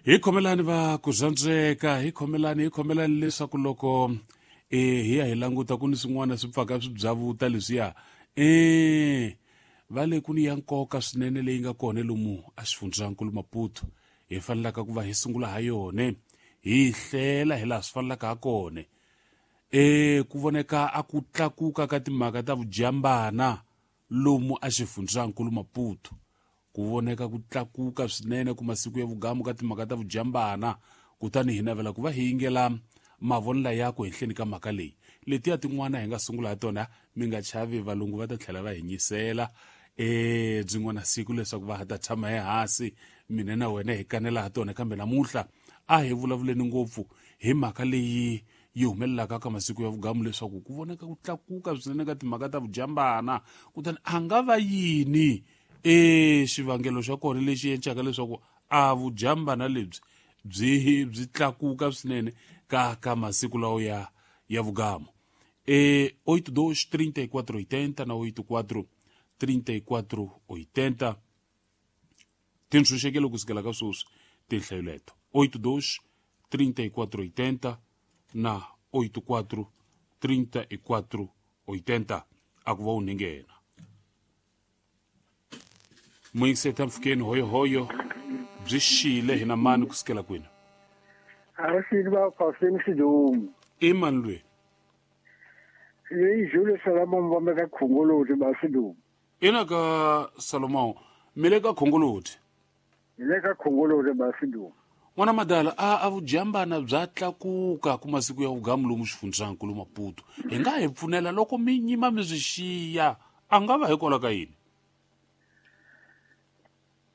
Hi khomelani va ku zwandzeka, hi khomelani, hi khomelani leswaku loko hi ya hi languta ku ni swin'wana swi pfaka swi byavuta leswiya. Va le ku ni ya nkoka swinene leyi nga kona lomu a xifundzankulu Maputo. Hi fanelaka ku va hi sungula ha yona, hi hlela hi laha swi fanelaka ha kona. Ku voneka a ku tlakuka ka timhaka ta vujambana lomu a xifundzankulu Maputo. Ku voneka ku tlakuka swinene ku masiku ya vugamu ka timhaka ta vujambana, kutani hi navela ku va hi yingela mavonelo ya ku henhleni ka mhaka leyi. Letiya tin'wana hi nga sungula ha tona, mi nga chavi, valungu va ta tlhela va hi nyisela byin'wana siku leswaku va ha ta tshama ehansi mina na wena hi kanela ha tona. Kambe namuntlha a hi vulavuleni ngopfu hi mhaka leyi yi humelelaka ka masiku ya vugamu leswaku ku voneka ku tlakuka swinene ka timhaka ta vujambana, kutani a nga va yini xivangelo xa kona lexi endlaka leswaku a vujambana lebyi byi tlakuka swinene ka masiku lawa ya vugamu. 82 34 80 na 84 34 80 tintshunxekelo kusukela ka sweswi tinhlayo leto 82 34 80 na 84 34 80 a ku va u ninghena. Muyingiseta mpfhukeni hoyohoyo byi xile hina mani kusukela kwini? A ri xile va Faustin Sidumo. I mani lweyi? Leyi Julius Salomon va ka Khongoloti ba Sidumo. Ina ka Salomon, mi le ka Khongoloti? Hi le ka Khongoloti ba Sidumo. N'wana madala, a vujambana bya tlakuka ku masiku ya vugamu lomu xifundzankulu Maputo. Hi nga hi pfunela loko mi nyima mi swi xiya, a nga va hikwalaho ka yini?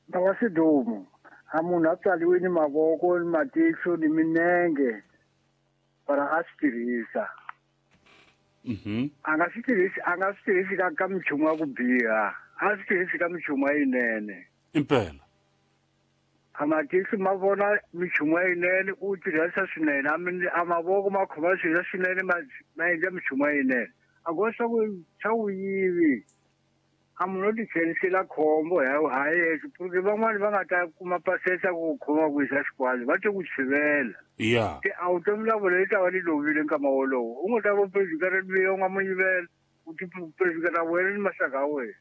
Baba Sidumo, a munhu a tswariwe ni mavoko ni matihlo ni minenge para a swi tirhisa. A nga swi tirhisi, a nga swi tirhisi ka minchumu ya ku biha, a swi tirhisi ka minchumu ya yinene. Impela. A matihlo ma vona minchumu ya yinene, u tirhisa swinene, a mavoko ma khoma swilo swinene, ma endla minchumu ya yinene. A go swa ku yivi. A munhu o tichelisela khombo ha yexe, porque van'wani va nga ta kuma pasesa ku khoma ku yisa xikwalo, va te ku chivela. Te a vutomi bya vona yi ta va li lovile nkama wolowo. U nga ta va presidente loyi u nga mu yivela, u ti presidente wena ni maxaka ya wena.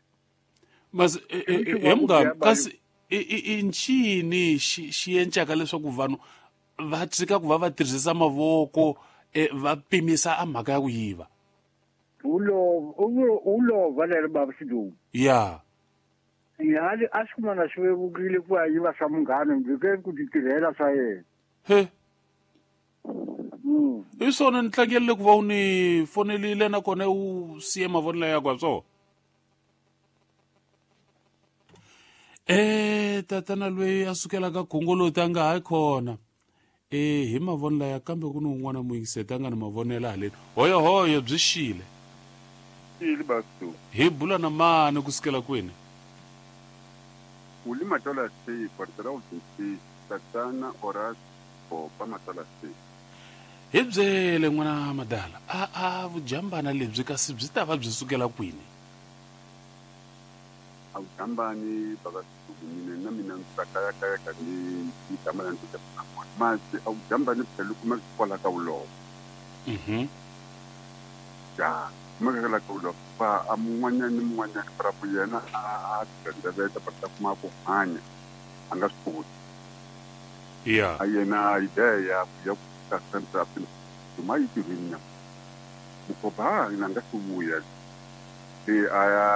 Mas he munghana, kasi i ncini xi endlaka leswaku vanhu va tshika ku va va tirhisa mavoko, va pimisa a mhaka ya ku yiva? Ulova lero baba Sidumo. Ya. Ya, a swi kumana swi vevukile ku ya yiva swa munghana, ndzi ke ku ti tirhela swa yena. He. Hi swona ni tlangerile ku va u ni fonerile nakona u siye mavonelo ya kwa swona. Tatana loyi a sukelaka Khongoloti a nga ha khona. Hi mavonelo ya kambe ku ni un'wana muyingiseti a nga ni mavonelo haleni. Hoyohoyo byi xile. Xile Basto. Hi bula na mani kusukela kwini? Uli Matola C, Portela U C, Tatana Horace Bopa Matola C. Hi byele n'wana madala, a vujambana lebyi kasi byi ta va byi sukela kwini? A vujambani baba Sidumo, mina na mina ndzi ta kayakaya ka ni ni tama la ndzi ta kona. Masi a vujambani phela u kuma kwala ka vulongo. Ya, kuma ka la ka vulongo. Fa a mun'wanyana ni mun'wanyana para ku yena a tsandzeveta para ta kuma ku hanya a nga swi koti. Ya. A yena idea ya ya ku ta central tuma yi tirhini na. Mukoba na nga swi vuya. Se a ya